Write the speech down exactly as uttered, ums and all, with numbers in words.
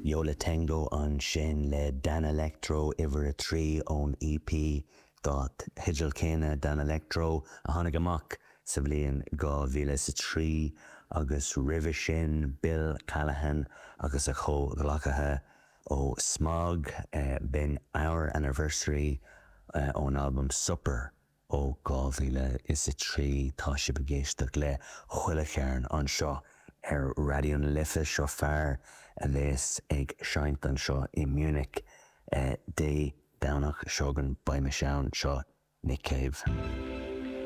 Yo La Tengo ansin le Danelectro uimhir a trí ón EP dar teideal céanna Danelectro a tháinig amach sa bhliain dhá mhíle is a trí agus roimhe sin Bill Callahan agus a chomhghleacaithe ó Smog b'in Our Anniversary ón albam Supper ó dhá mhíle is a trí tá sibh ag éisteacht le chuile chearn anseo ar Raidió na Life seo fear a bheas ag seinnt anseo i Munich Dé Domhnach seo chugainn beidh mise ann seo Nick Cave.